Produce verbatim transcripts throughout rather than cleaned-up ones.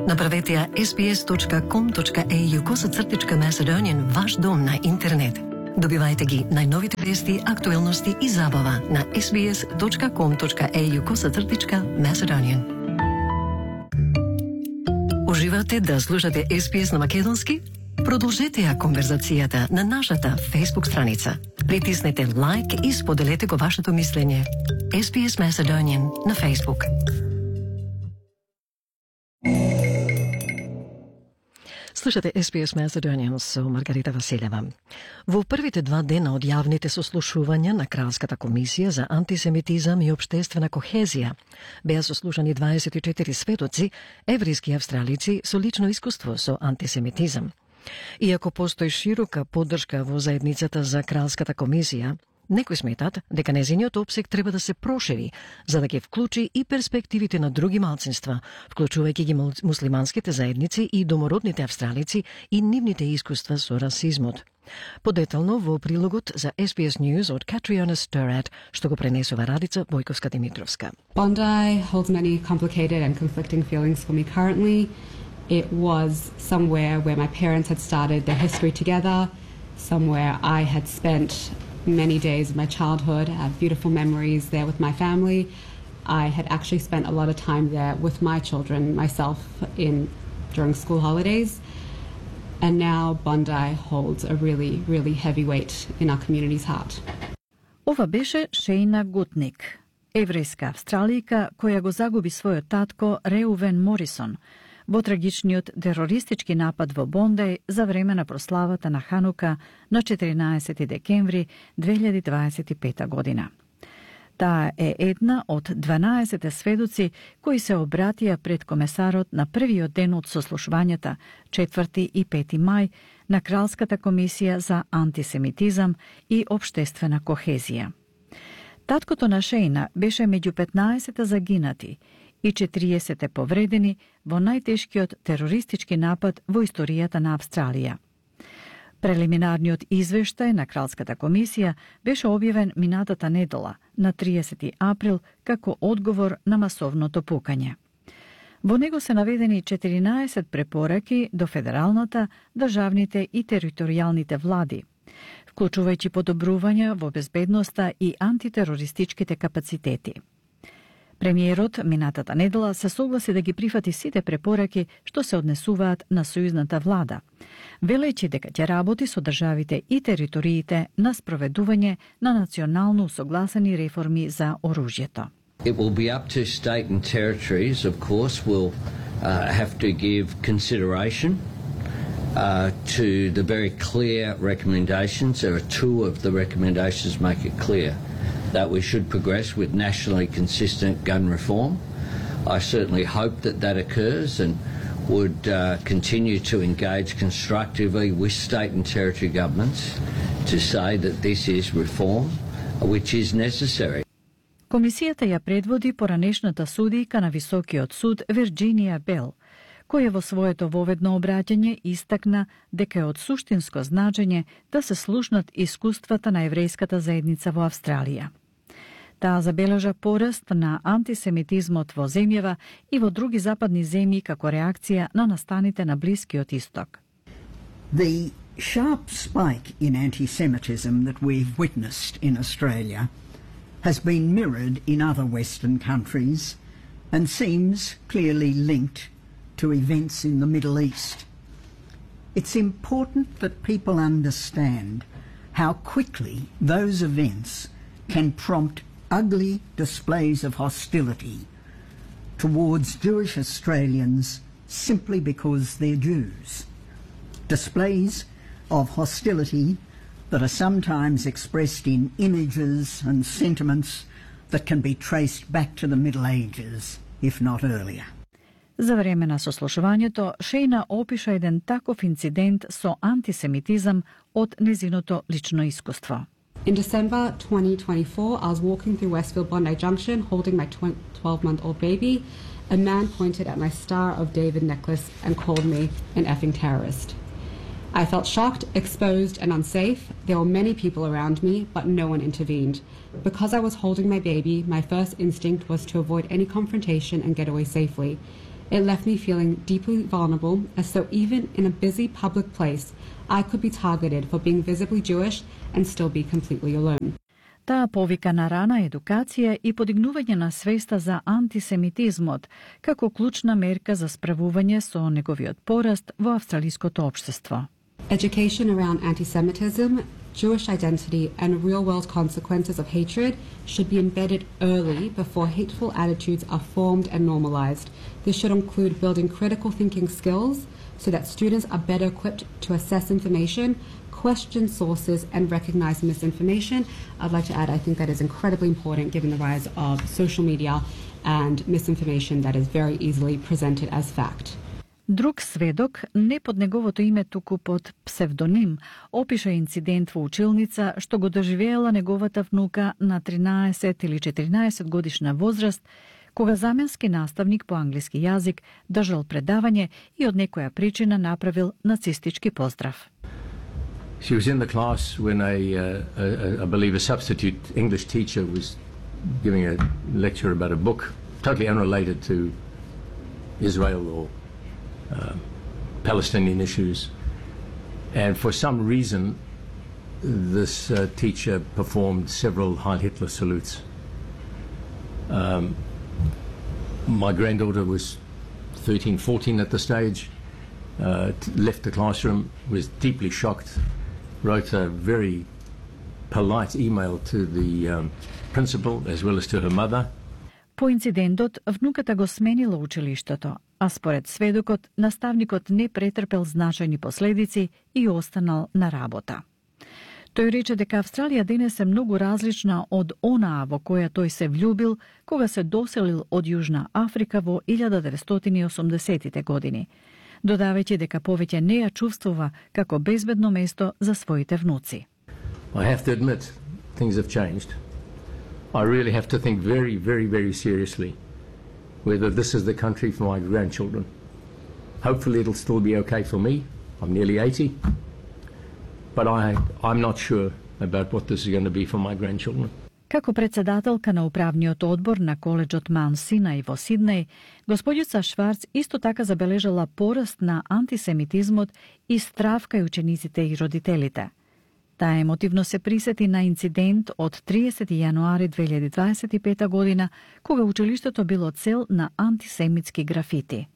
Направете ја sbs.com.au косацртичка Macedonian ваш дом на интернет. Добивајте ги најновите вести, актуелности и забава на sbs.com.au косацртичка Macedonian. Уживате да слушате Ес Би Ес на македонски? Продолжете ја конверзацијата на нашата Facebook страница. Притиснете лайк и споделете го вашето мислење. Ес Би Ес Macedonian на Facebook. Слушате Ес Би Ес Macedonian со Маргарита Василева. Во првите два дена од јавните сослушувања на Кралската комисија за антисемитизам и општествена кохезија беа сослушани дваесет и четири сведоци, еврејски и австралици со лично искуство со антисемитизам. Иако постои широка поддршка во заедницата за Кралската комисија, некои сметат дека нејзиниот опсег треба да се прошири, за да ги вклучи и перспективите на други малцинства, вклучувајќи ги муслиманските заедници и домородните австралици и нивните искуства со расизмот. Подетално во прилогот за Ес Би Ес News од Катриона Стерат, што го пренесува Радица Бојковска-Димитровска. Bondi holds many complicated and conflicting feelings for me currently. It was somewhere where my parents had started their history together, somewhere I had spent many days of my childhood. I have beautiful memories there with my family. I had actually spent a lot of time there with my children, myself, in during school holidays. And now Bondi holds a really, really heavy weight in our community's heart. Ова беше Шејна Гутник, еврејска австралијка која го загуби својот татко Реувен Морисон во трагичниот терористички напад во Бондеј за време на прославата на Ханука на четиринаесети декември две илјади дваесет и пета година. Таа е една од дванаесет сведоци кои се обратија пред комесарот на првиот ден од сослушувањата, четврти и пети мај, на Кралската комисија за антисемитизам и општествена кохезија. Таткото на Шејна беше меѓу петнаесет загинати и четириесет повредени во најтешкиот терористички напад во историјата на Австралија. Прелиминарниот извештај на Кралската комисија беше објавен минатата недела на триесети април како одговор на масовното пукање. Во него се наведени четиринаесет препораки до федералната, државните и територијалните влади, вклучувајќи подобрувања во безбедноста и антитерористичките капацитети. Премиерот минатата недела се согласи да ги прифати сите препораки што се однесуваат на сојузната влада, велејќи дека ќе работи со државите и териториите на спроведување на национално усогласени реформи за оружјето. It will be up to state and territories, of course, will uh, have to give consideration uh, to the very clear recommendations. There are two of the recommendations make it clear that we should progress with nationally consistent gun reform. I certainly hope that that occurs and would uh, continue to engage constructively with state and territory governments to say that this is reform which is necessary. Комисијата ја предводи поранешната судијка на Високиот суд Вирџинија Бел, која во своето воведно обраќање истакна дека е од суштинско значење да се слушнат искуствата на еврејската заедница во Австралија. Таа забележа пораст на антисемитизмот во земјава и во други западни земји како реакција на настаните на Блискиот Исток. The sharp spike in anti-Semitism that we've witnessed in Australia has been mirrored in other Western countries and seems clearly linked to events in the Middle East. It's important that people understand how quickly those events can prompt ugly displays of hostility towards Jewish Australians simply because they're Jews. Displays of hostility that are sometimes expressed in images and sentiments that can be traced back to the Middle Ages, if not earlier. За време на сослушувањето, Шејна опиша еден таков инцидент со антисемитизам од незиното лично искуство. In December twenty twenty-four, I was walking through Westfield Bondi Junction holding my twelve-month-old baby. A man pointed at my Star of David necklace and called me an effing terrorist. I felt shocked, exposed, and unsafe. There were many people around me, but no one intervened. Because I was holding my baby, my first instinct was to avoid any confrontation and get away safely. It left me feeling deeply vulnerable, as though even in a busy public place, I could be targeted for being visibly Jewish and still be completely alone. Таа повика на рана едукација и подигнување на свеста за антисемитизмот како клучна мерка за справување со неговиот пораст во австралиското општество. Education around anti-Semitism, Jewish identity, and real-world consequences of hatred should be embedded early before hateful attitudes are formed and normalized. This should include building critical thinking skills so that students are better equipped to assess information, question sources, and recognize misinformation. I'd like to add, I think that is incredibly important given the rise of social media and misinformation that is very easily presented as fact. Друг сведок, не под неговото име туку под псевдоним, опиша инцидент во училница што го доживеела неговата внука на тринаесет или четиринаесет годишна возраст, кога заменски наставник по англиски јазик држал предавање и од некоја причина направил нацистички поздрав. She was in the class when a, uh, a, I believe a substitute English teacher was giving a lecture about a book totally unrelated to Israel or uh, Palestinian issues. And for some reason, this uh, teacher performed several Heil Hitler salutes. Um, my granddaughter was thirteen, fourteen at the stage, uh, left the classroom, was deeply shocked, wrote a very polite email to the um, principal as well as to her mother. По инцидентот, внуката го сменила училиштето, а според сведокот, наставникот не претрпел значајни последици и останал на работа. Тој рече дека Австралија денес е многу различна од онаа во која тој се влюбил кога се доселил од Јужна Африка во илјада деветстотини и осумдесетите години, додавајќи дека повеќе не ја чувствува како безбедно место за своите внуци. I have to admit, things have changed. I really have to think very, very, very seriously whether this is the country for my grandchildren. Hopefully it'll still be okay for me. I'm nearly eighty. But I, I'm not sure about what this is going to be for my grandchildren. Како председателка на управниот одбор на коледжот Маунт Синај во Сиднеј, господјица Шварц исто така забележала пораст на антисемитизмот и страв кај учениците и родителите. Таа емотивно се присети на инцидент од триесети јануари две илјади дваесет и пета година, кога училиштето било цел на антисемитски графити.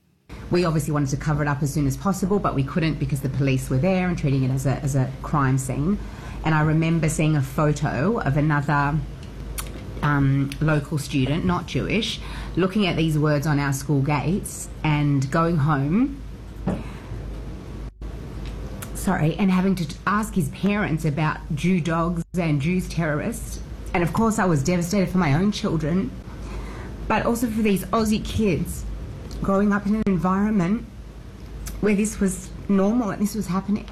We obviously wanted to cover it up as soon as possible, but we couldn't because the police were there and treating it as a, as a crime scene. And I remember seeing a photo of another um, local student, not Jewish, looking at these words on our school gates and going home, sorry, and having to ask his parents about Jew dogs and Jews terrorists. And of course I was devastated for my own children, but also for these Aussie kids growing up in an environment where this was normal and this was happening.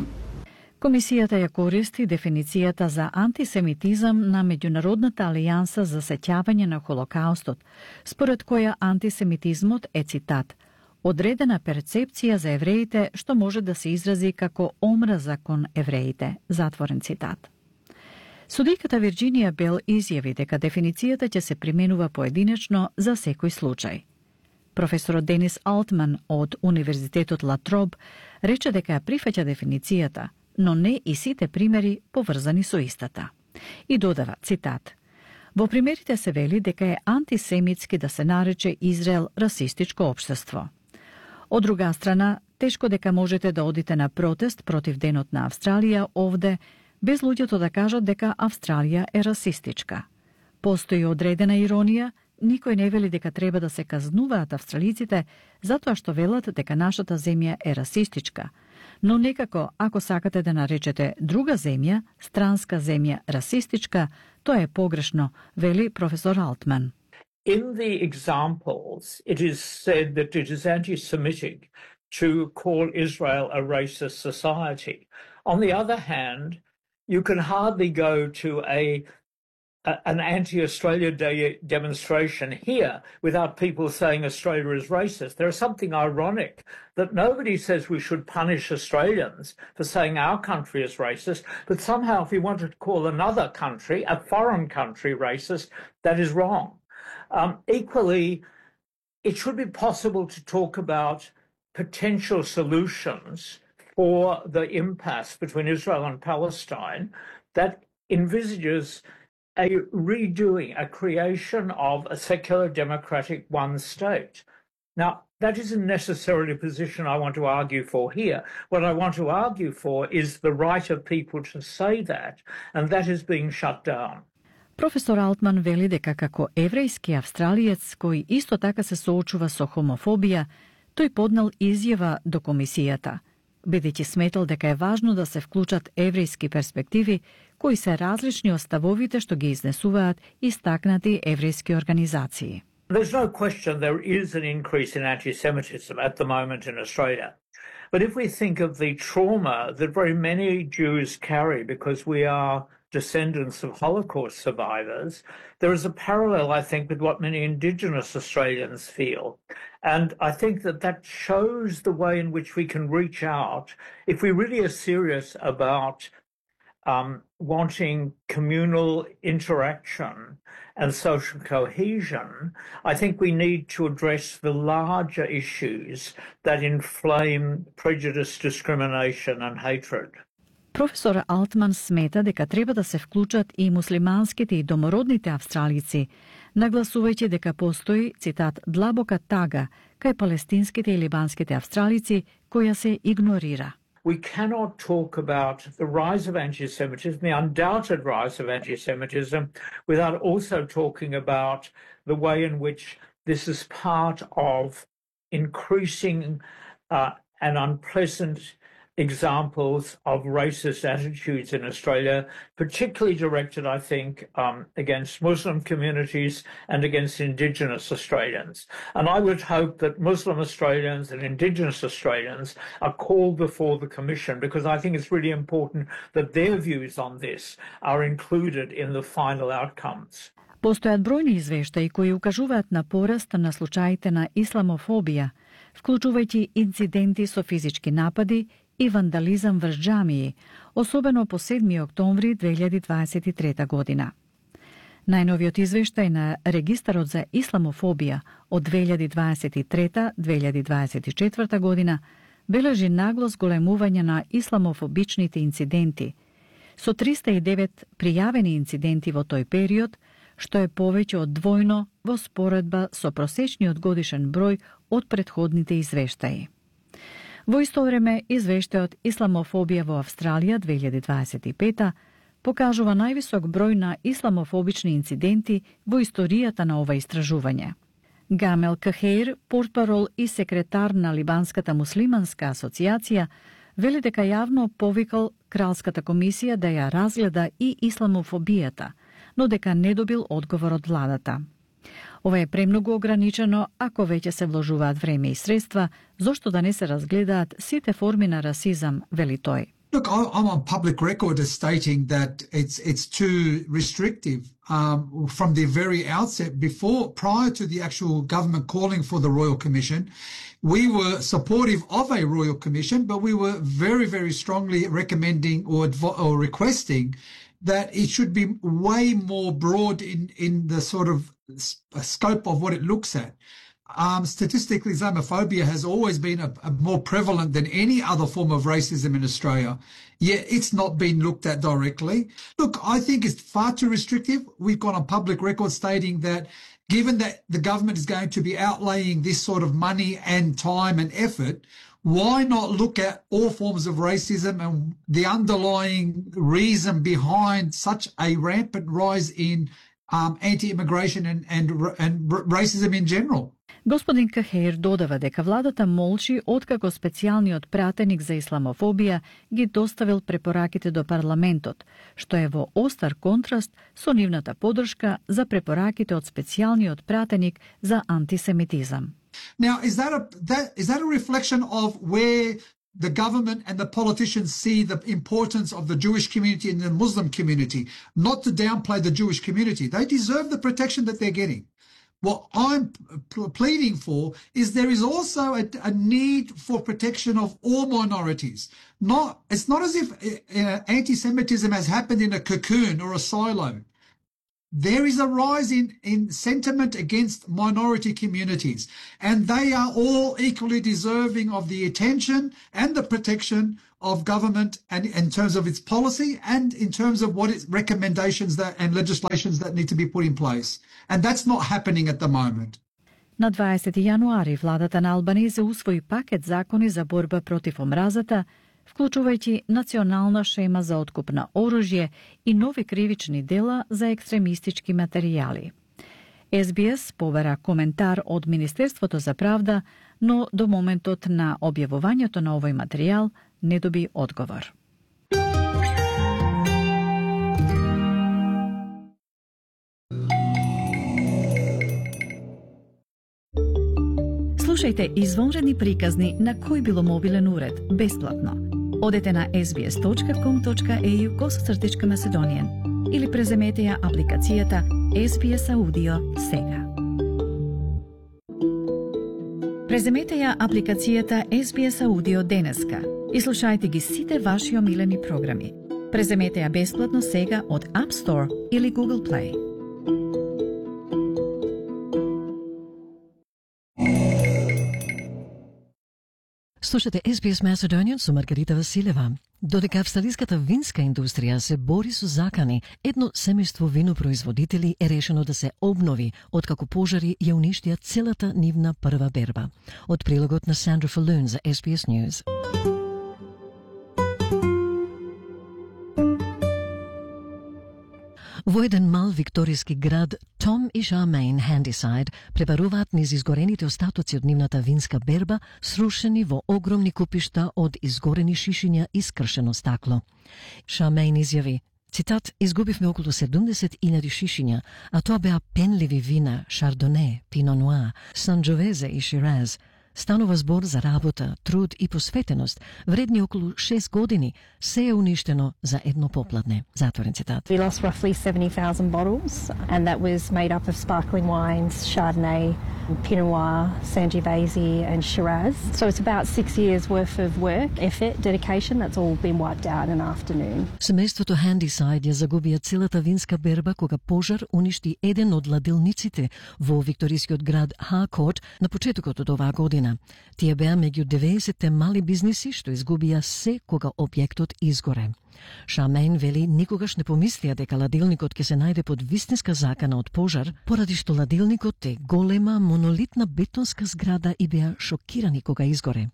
Комисијата ја користи дефиницијата за антисемитизам на Меѓународната алијанса за сеќавање на Холокаустот, според која антисемитизмот е, цитат, одредена перцепција за евреите што може да се изрази како омраза кон евреите, затворен цитат. Судиката Вирџинија Бел изјави дека дефиницијата ќе се применува поединечно за секој случај. Професорот Денис Алтман од Универзитетот Латроб рече дека ја прифаќа дефиницијата, но не и сите примери поврзани со истата. И додава, цитат, во примерите се вели дека е антисемитски да се нарече Израел расистичко општество. Од друга страна, тешко дека можете да одите на протест против Денот на Австралија овде, без луѓето да кажат дека Австралија е расистичка. Постои одредена иронија, никој не вели дека треба да се казнуваат австралиците затоа што велат дека нашата земја е расистичка. Но некако, ако сакате да наречете друга земја, странска земја, расистичка, тоа е погрешно, вели професор Алтман. In the examples, it is said that it is anti-Semitic to call Israel a racist society. On the other hand, you can hardly go to a an anti-Australia Day demonstration here without people saying Australia is racist. There is something ironic that nobody says we should punish Australians for saying our country is racist, but somehow if we wanted to call another country, a foreign country, racist, that is wrong. Um, equally, it should be possible to talk about potential solutions for the impasse between Israel and Palestine that envisages a redoing, a creation of a secular democratic one state. Now, that isn't necessarily a position I want to argue for here. What I want to argue for is the right of people to say that, and that is being shut down. Професор Алтман вели дека како еврејски австралиец кој исто така се соочува со хомофобија, тој поднел изјава до комисијата, бидејќи сметал дека е важно да се вклучат еврејски перспективи кои се различни од ставовите што ги изнесуваат истакнати еврејски организации. There's no question there is an increase in anti-Semitism at the moment in Australia. But if we think of the trauma that very many Jews carry because we are descendants of Holocaust survivors, there is a parallel, I think, with what many Indigenous Australians feel. And I think that that shows the way in which we can reach out if we really are serious about um, wanting communal interaction and social cohesion. I think we need to address the larger issues that inflame prejudice, discrimination and hatred. Професор Алтман смета дека треба да се вклучат и муслиманските и домородните австралици, нагласувајќи дека постои, цитат, длабока тага кај палестинските и либанските австралици која се игнорира. We cannot talk about the rise of anti-Semitism, the undoubted rise of anti-Semitism, without also talking about the way in which this is part of increasing uh, and unpleasant examples of racist attitudes in Australia, particularly directed, I think, um, against Muslim communities and against Indigenous Australians. And I would hope that Muslim Australians and Indigenous Australians are called before the Commission, because I think it's really important that their views on this are included in the final outcomes. Постојат бројни извештаи кои укажуваат на пораст на случаите на исламофобија, вклучувајќи инциденти со физички напади и вандализам врз џамии, особено по седми октомври две илјади дваесет и трета година. Најновиот извештај на Регистарот за исламофобија од две илјади дваесет и трета до две илјади дваесет и четврта година бележи нагло зголемување на исламофобичните инциденти, со триста и девет пријавени инциденти во тој период, што е повеќе од двојно во споредба со просечниот годишен број од претходните извештаи. Во исто време, извештајот Исламофобија во Австралија две илјади дваесет и пета покажува највисок број на исламофобични инциденти во историјата на ова истражување. Гамел Кахеир, портпарол и секретар на Либанската муслиманска асоциација, вели дека јавно повикал Кралската комисија да ја разгледа и исламофобијата, но дека не добил одговор од владата. Ова е премногу ограничено ако веќе се вложуваат време и средства, зошто да не се разгледаат сите форми на расизам, вели тој. Look, I'm on public record as stating that it's it's too restrictive um, from the very outset. Before, prior to the actual government calling for the Royal Commission, we were supportive of a Royal Commission, but we were very, very strongly recommending or, or requesting that it should be way more broad in, in the sort of scope of what it looks at. Um, statistically, Islamophobia has always been a, a more prevalent than any other form of racism in Australia, yet it's not been looked at directly. Look, I think it's far too restrictive. We've got on public record stating that given that the government is going to be outlaying this sort of money and time and effort, why not look at all forms of racism and the underlying reason behind such a rampant rise in um, anti-immigration and, and, and racism in general? Господин Кахеир додава дека владата молчи откако специјалниот пратеник за исламофобија ги доставил препораките до парламентот, што е во остар контраст со нивната поддршка за препораките од специјалниот пратеник за антисемитизам. Now, is that a that is that a reflection of where the government and the politicians see the importance of the Jewish community and the Muslim community? Not to downplay the Jewish community. They deserve the protection that they're getting. What I'm pleading for is there is also a, a need for protection of all minorities. Not, it's not as if uh, anti-Semitism has happened in a cocoon or a silo. there is a rise in, in sentiment against minority communities, and they are all equally deserving of the attention and the protection of government, and in terms of its policy and in terms of what its recommendations that and legislations that need to be put in place. And that's not happening at the moment. На дваесети јануари владата на Албаниза усвои пакет закони за борба против омразата, вклучувајќи национална шема за откуп на оружје и нови кривични дела за екстремистички материјали. Ес Би Ес побара коментар од Министерството за правда, но до моментот на објавувањето на овој материјал не доби одговор. Слушајте извонредни приказни на кој било мобилен уред, бесплатно. Одете на ес би ес точка ком точка ей ю косацртичка Macedonian или преземете ја апликацијата Ес Би Ес Audio сега. Преземете ја апликацијата Ес Би Ес Audio денеска и слушајте ги сите ваши омилени програми. Преземете ја бесплатно сега од App Store или Google Play. Слушате Ес Би Ес Macedonian со Маргарита Василева. Додека австралиската винска индустрија се бори со закани, едно семејство винопроизводители е решено да се обнови откако пожари ја уништија целата нивна прва берба. Од прилогот на Сандра Фалун за Ес Би Ес News. Во еден мал викторијски град, Том и Charmaine Handyside пребаруваат низ изгорените остатоци од нивната винска берба, срушени во огромни купишта од изгорени шишиња и скршено стакло. Charmaine изјави, цитат, изгубивме околу седумдесет илјади шишиња, а тоа беа пенливи вина, Шардоне, Пино Нуар, Санџовезе и Шираз. Станува збор за работа, труд и посветеност, вредни околу шест години, се е уништено за едно попладне. Затворен цитат. We lost roughly seventy thousand bottles, and that was made up of sparkling wines, Chardonnay, Pinot Noir, Sangiovese and Shiraz. So it's about six years worth of work, effort, dedication, that's all been wiped out in an afternoon. Семејството Handyside ја загубија целата винска берба кога пожар уништи еден од ладилниците во викторискиот град Harcourt на почетокот од оваа година. Тие беа меѓу деветдесетте мали бизниси што изгубија се кога објектот изгоре. Charmaine вели никогаш не помислија дека ладилникот ќе се најде под вистинска закана од пожар, поради што ладилникот е голема монолитна бетонска зграда и беа шокирани кога изгоре.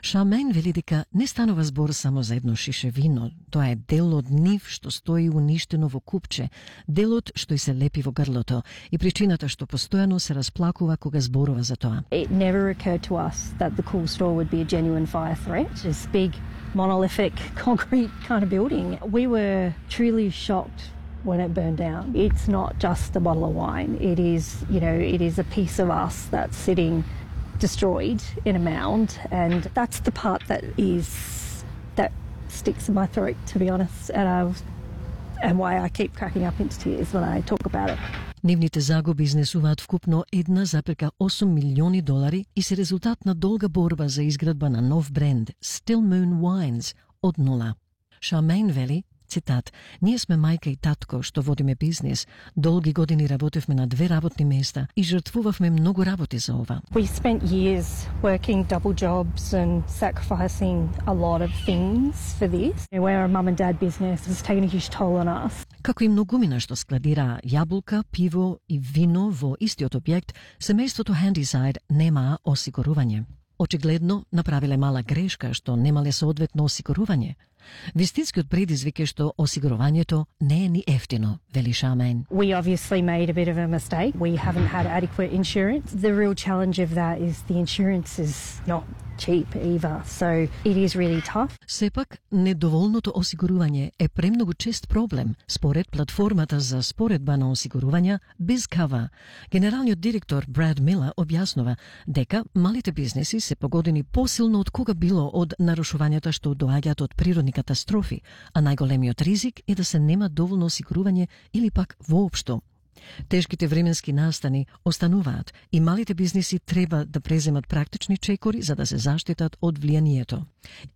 Charmaine вели дека не станува збор само за едно шише вино, тоа е дел од нив што стои уништено во купче, делот што и се лепи во грлото и причината што постојано се расплакува кога зборува за тоа. It never occurred to us that the cool store would be a genuine fire threat. This big monolithic concrete kind of building. We were truly shocked when it burned down. It's not just a bottle of wine. It is, you know, it is a piece of us that's sitting destroyed in a mound, and that's the part that is that sticks in my throat, to be honest, and I and why I keep cracking up into tears when I talk about it. Нивните загуби изнесуваат вкупно една запирка осум милиони долари и се резултат на долга борба за изградба на нов бренд Still Moon Wines од нула. Charmaine вели, цитат, ние сме мајка и татко што водиме бизнис. Долги години работевме на две работни места и жртвувавме многу работи за ова. We spent years working double jobs and sacrificing a lot of things for this. We're a mum and dad business. It's taken a huge toll on us. Како и многумина што складира јаболка, пиво и вино во истиот објект, семејството Handyside немаа осигурување. Очигледно направиле мала грешка што немале соодветно осигурување. Вистинскиот предизвик е што осигурувањето не е ни ефтино, вели Charmaine. We obviously made a bit of a mistake. We haven't had adequate insurance. The real challenge of that is the insurance is not cheap either, so it is really tough. Сепак, недоволното осигурување е премногу чест проблем, според платформата за споредба на осигурувања BizCover. Генералниот директор Брад Милер објаснува дека малите бизнеси се погодени посилно од кога било од нарушувањата што доаѓаат од природни катастрофи, а најголемиот ризик е да се нема доволно осигурување или пак воопшто Тешките временски настани остануваат и малите бизниси треба да преземат практични чекори за да се заштитат од влијанието.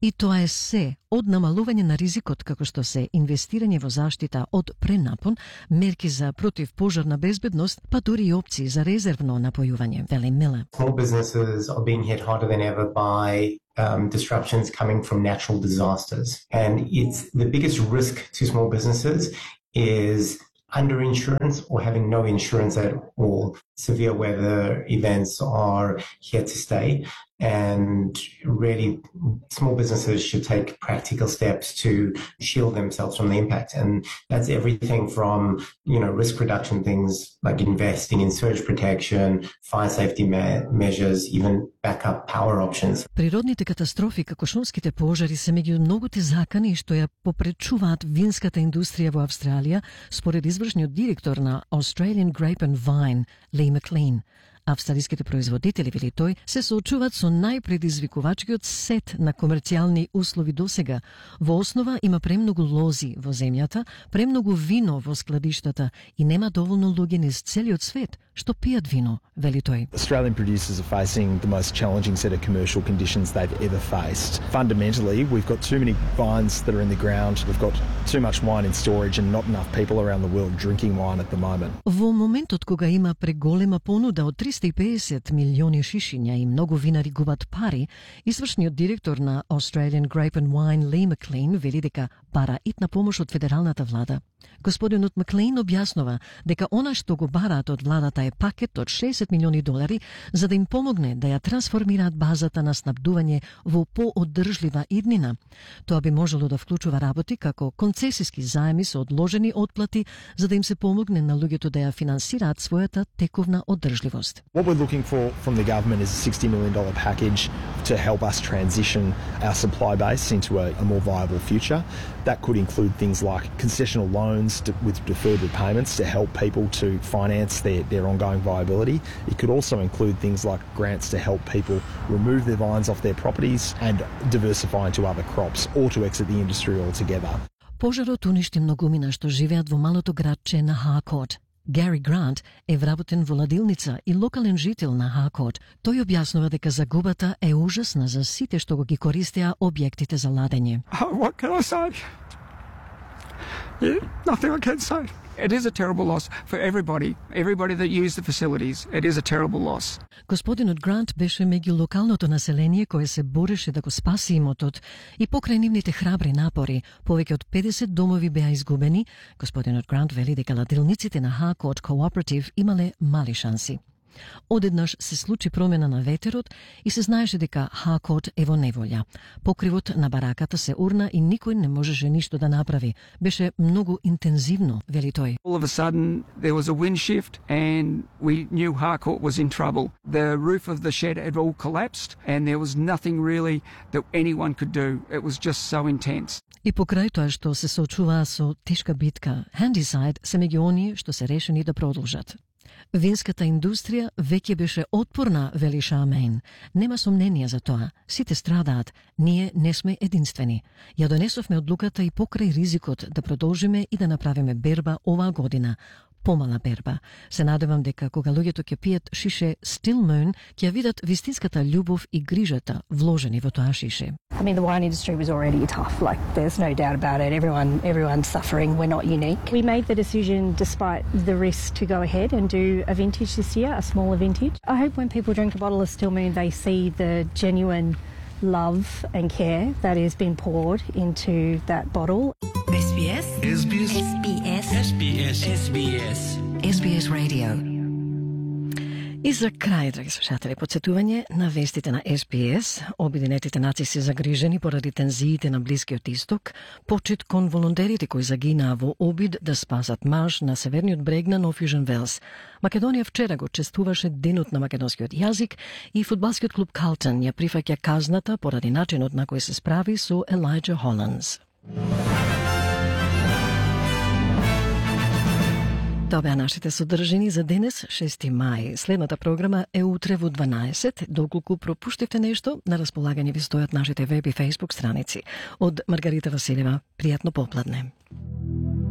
И тоа е се од намалување на ризикот како што се инвестирање во заштита од пренапон, мерки за противпожарна безбедност, па дури и опции за резервно напојување, вели Мила. Small businesses are being hit harder than ever by um, disruptions coming from natural disasters. And it's the biggest risk to small businesses is underinsurance or having no insurance at all. Severe weather events are here to stay, and really small businesses should take practical steps to shield themselves from the impact. And that's everything from, you know, risk reduction things like investing in surge protection, fire safety me- measures, even backup power options. Природните катастрофи како шумските пожари се меѓу многуте закани што ја попречуваат винската индустрија во Австралија, според извршниот директор на Australian Grape and Vine, Lee McLean. Австралиските производители, вели тој, се соочуваат со најпредизвикувачкиот сет на комерцијални услови досега. Во основа има премногу лози во земјата, премногу вино во складиштата и нема доволно луѓе низ целиот свет што пијат вино, вели тој. Australian producers are facing the most challenging set of commercial conditions they've ever faced. Fundamentally, we've got too many vines that are in the ground, we've got too much wine in storage and not enough people around the world drinking wine at the moment. Во моментот кога има преголема понуда од триста и педесет милиони шишиња и многу винари губат пари, извршниот директор на Australian Grape and Wine Lee McLean вели дека бара итна помош од федералната влада. Господинот Маклейн објаснува дека она што го бараат од владата е пакет од шеесет милиони долари за да им помогне да ја трансформираат базата на снабдување во поодржлива иднина. Тоа би можело да вклучува работи како концесиски заеми со одложени отплати за да им се помогне на луѓето да ја финансираат својата тековна одржливост. What we're looking for from the government is a sixty million dollars package to help us transition our supply base into a, a more viable future. That could include things like concessional loans to, with deferred repayments to help people to finance their, their ongoing viability. It could also include things like grants to help people remove their vines off their properties and diversify into other crops or to exit the industry altogether. Пожарот уништи многумина што живеат во малото градче на Харкот. Гари Грант е вработен во ладилница и локален жител на Харкот. Тој објаснува дека загубата е ужасна за сите што го ги користеа објектите за ладење. Oh, what can I say? Yeah, nothing I can say. It is a terrible loss for everybody, everybody that used the facilities. It is a terrible loss. Господинот Грант беше меѓу локалното население кое се бореше да го спаси имотот и покрај нивните храбри напори, повеќе од педесет домови беа изгубени. Господинот Грант вели дека ладилниците на Харкот Cooperative имале мали шанси. Одеднаш се случи промена на ветерот и се знаеше дека Харкот е во неволја. Покривот на бараката се урна и никој не можеше ништо да направи. Беше многу интензивно, вели тој. All of a sudden there was a wind shift and we knew Harcourt was in trouble. The roof of the shed had all collapsed and there was nothing really that anyone could do. It was just so intense. И покрај тоа што се соочуваа со тешка битка, Handyside се меѓу оние што се решени да продолжат. Винската индустрија веќе беше отпорна, вели Шамейн. Нема сомнение за тоа. Сите страдаат. Ние не сме единствени. Ја донесовме одлуката и покрај ризикот да продолжиме и да направиме берба оваа година. Помала берба. Се надевам дека кога луѓето ќе пијат шише Still Moon, ќе видат вистинската љубов и грижата вложени во тоа шише. I mean, the wine industry was already tough. Like, there's no doubt about it. Everyone, everyone's suffering. We're not unique. We made the decision, despite the risk, to go ahead and do a vintage this year, a smaller vintage. I hope when people drink a bottle of Still Moon, they see the genuine love and care that has been poured into that bottle. S B S. S B S. S B S. S B S. S B S. S B S Radio. И за крај, драги слушатели, подсетување на вестите на Ес Би Ес. Обединетите нации се загрижени поради тензиите на Блискиот Исток, почит кон волонтерите кои загинаа во обид да спасат маж на северниот брег на Нов Јужен Велс. Македонија вчера го чествуваше денот на македонскиот јазик и фудбалскиот клуб Калтон ја прифаќа казната поради начинот на кој се справи со Елајджа Холандс. Тоа беа нашите содржини за денес, шести мај. Следната програма е утре во дванаесет. Доколку пропуштивте нешто, на располагање ви стојат нашите веб и фејсбук страници. Од Маргарита Василева, пријатно попладне.